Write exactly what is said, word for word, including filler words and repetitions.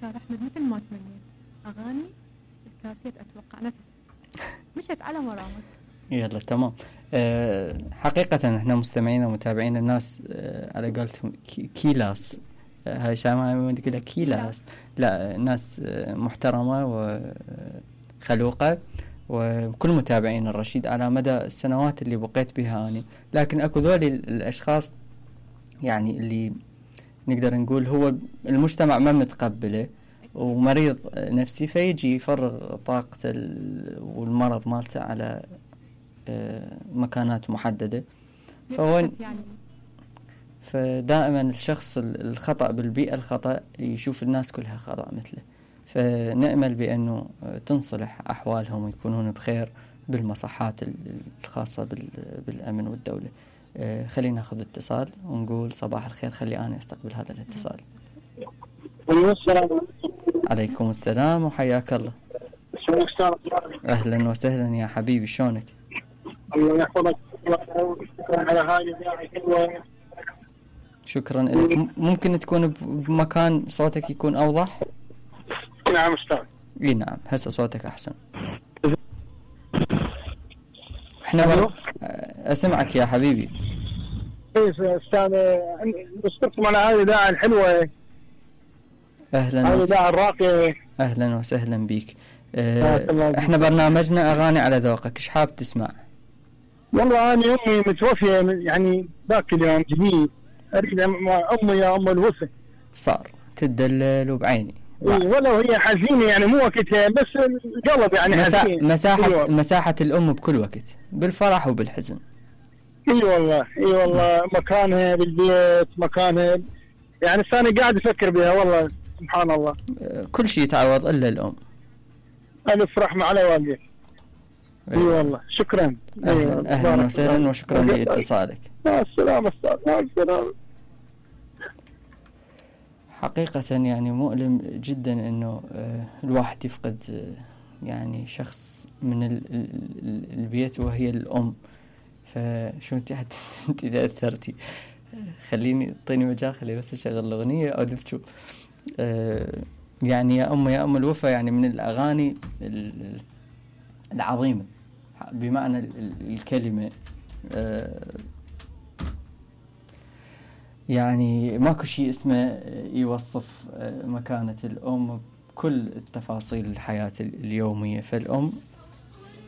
دكتور أحمد مثل ما تمنيت أغاني الكاسيت أتوقع نفس مشت على مرامك. يلا تمام. أه حقيقة احنا مستمعين ومتابعين الناس أه على قولتهم كيلاس، أه هاي شامعة كده كيلاس، لا ناس أه محترمة وخلوقة، وكل متابعين الرشيد على مدى السنوات اللي بقيت بها أنا. لكن أكو ذولي الأشخاص يعني اللي نقدر نقول هو المجتمع ما متقبله ومريض نفسي، فيجي يفرغ طاقته والمرض مالته على مكانات محددة. فوين فدائما الشخص الخطأ بالبيئة الخطأ يشوف الناس كلها خطأ مثله. فنأمل بأنه تنصلح أحوالهم ويكونون بخير بالمصحات الخاصة بالأمن والدولة. خلينا ناخذ اتصال ونقول صباح الخير. خلي أنا أستقبل هذا الاتصال. عليكم السلام وحياك الله. أهلا وسهلا يا حبيبي، شلونك؟ الله يحفظك على هاي الحلوة. شكرا لك. ممكن تكون بمكان صوتك يكون أوضح؟ نعم أستاذ. اي نعم، هسه صوتك أحسن. احنا بر... أسمعك يا حبيبي. ايه أستاذ، نشكركم على هذه الإذاعة الحلوة. أهلا هذه الإذاعة الراقية. أهلا وسهلا بيك. اه احنا برنامجنا أغاني على ذوقك، ايش حاب تسمع؟ والله أنا أمي متوفية يعني ذاك اليوم جديد، أريد أمي يا أم الوفا. صار تدلل وبعيني. إيه ولو هي حزينة يعني مو وقتها، بس القلب يعني مسا... حزين. مساحة مساحة الأم بكل وقت، بالفرح وبالحزن. اي والله اي والله مكانها بالبيت، مكانها يعني أنا قاعد أفكر بها والله سبحان الله. كل شيء يتعوض إلا الأم. ألف رحمة على والديك. اي والله شكرا. أهلا, أهلا وسهلا وشكرا لاتصالك. مع السلامة أستاذ. مع السلامة. حقيقة يعني مؤلم جدا إنه الواحد يفقد يعني شخص من البيت وهي الأم. فشو انت حت انت تأثرتي. خليني اعطيني مجال، خلي بس اشغل الأغنية او دفتو. آه يعني يا أم يا أم الوفا يعني من الأغاني العظيمة بمعنى الكلمة. آه يعني ماكو شيء اسمه يوصف مكانة الأم بكل التفاصيل الحياة اليومية. فالأم